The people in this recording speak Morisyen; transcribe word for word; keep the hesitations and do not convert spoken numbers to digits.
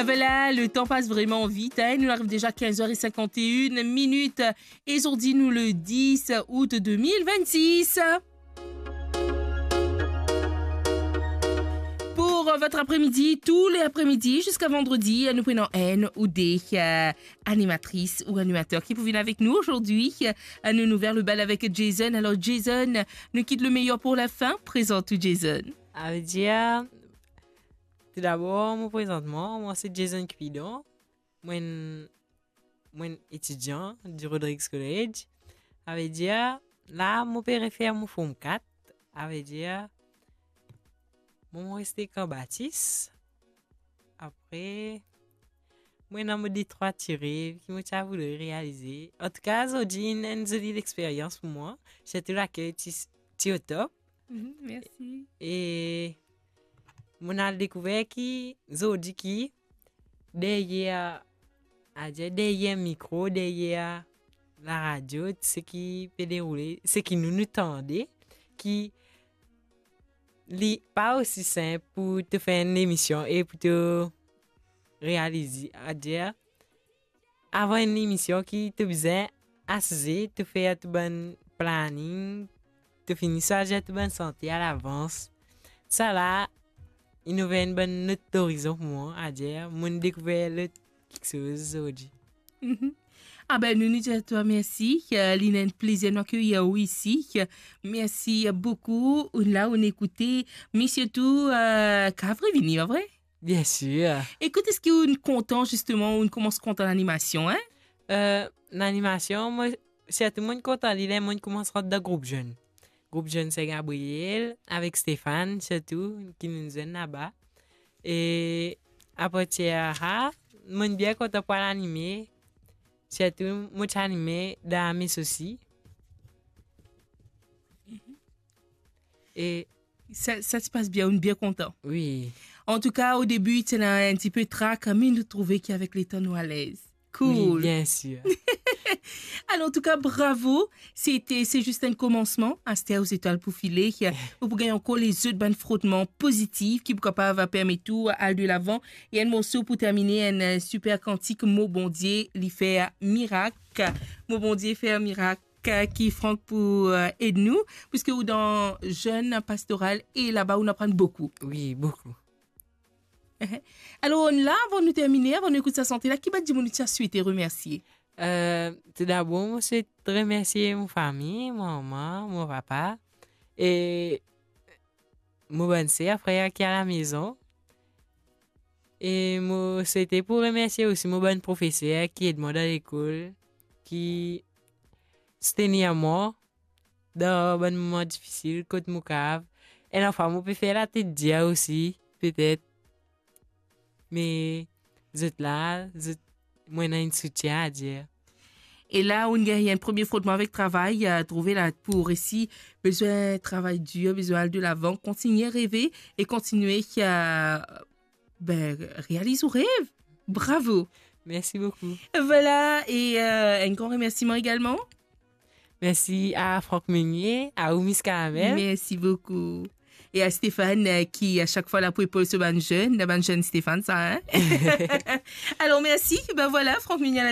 Vela, le tan pas vreman vit, hein. Nou ariv deza kinz er e sinkant e enn minit. E zordi nou le dis out de mil vennsis. Pour, euh, votre après-midi, tous les après-midi, jusqu'à vendredi, euh, nou pou ena enn ou de, euh, animatris ou animater ki pou vinn avek nou ozordi. Euh, nou, nou ouver le bal avek Jason. Alor, Jason, nou kit le meyer pour la fin. Prezant ou, Jason. Savedir, toudabor, mo prezant mwa, mwa se Jason Cupidon. Mwa enn, mwa enn etidian di Rodrigues College. Savedir, la, mo pe refer mo Form kat. Savedir, mo, mo reste Kan Batis. Apre, mwa ena mo de trwa ti rev ki mo ti a voule realize. Antouka, zordi inn enn zoli lexperyans pou mwa. Sirtou laker ti, ti o top. Mhm, mersi. E mo al dekouver ki zordi ki deryer, adir deryer mikro, deryer laradio, seki pe deroule, seki nou, nou tande, ki li pa osi sinp pou to fer enn emision e pou to realize, adir avan enn emision ki to bizin asize, to fer to bann planning, to fini swazir to bann sante alavans. Sa la, inn ouver enn bann lot orizon pou mwa, adir mo'nn dekouver lot kiksoz zordi. Mhm. Ah ben, nou, nou dir twa mersi. Euh, li ena enn plezir nou akeyir ou isi. Mersi boukou. Ounn la, ounn ekoute. Me sirtou, euh, kav revini, pa vre? Biensir. Ekout, eski ounn kontan, zisteman, ounn koumans kontan lanimasion, hein? Euh, lanimasion, mwa, sirtou mo'nn kontan li ler mo'nn koumans rant dan group zenn. Group zenn Saint Gabriel, avek Stéphane, sirtou, ki nou'nn zwenn laba. E apartir sa, mo'nn bien kontan pou al anime, sirtou mo ti anime dan Amis osi. Mhm. E sa, sa ti pas bien, ounn bien kontan. Wi. Antouka, o debi, ti ena enn tipe trak, me nou trouve ki avek letan nou alez. Cool. Wi, biensir. Alor, antouka, bravo. Se te, se zis enn koumansman. Aster, ou zetwal pou file. Ou pou gagn ankor lezot bann frotman pozitif ki pou kapav permet ou al de lavan. E enn morso pou termine, enn, euh, siper kantik, Mo Bondie li fer mirak. Mo Bondie fer mirak, euh, ki Franck pou, euh, ed nou, piske ou dan zenn pastoral e laba ou aprann boukou. Wi, boukou. Alor, la, avan nou termine, avan nou ekout sa sante la, ki bann dimoun ou ti a swete remersie? Euh, toudabor, mo swete remersie mo fami, mo mama, mo papa, e mo bann ser, frer ki alamezon. E mo swete pou remersie osi mo bann profeser ki ed mwa dan lekol, ki soutenir mwa dan bann moman difisil kot mo kav. Enn fwa mo pe fer latet dir osi, petet. Me zot la, zot, mo ena enn soutien, adir. E la, ounn gagn enn premie frotman avek travay, euh, trouve la pou resi, bizin travay dir, bizin al de lavan, kontigne reve e kontigne, euh, ben, realiz ou rev. Bravo. Mersi boukou. Vela, e, euh, enn gran remersiman egalman. Mersi a Franck Meunier, a ou, Miss Caramel. Mersi boukou. E a Stéphane, euh, ki a sak fwa la pou epol so bann zenn, bann zenn Stéphane sa, hein? Alor, mersi. Ben vela, Franck Meunier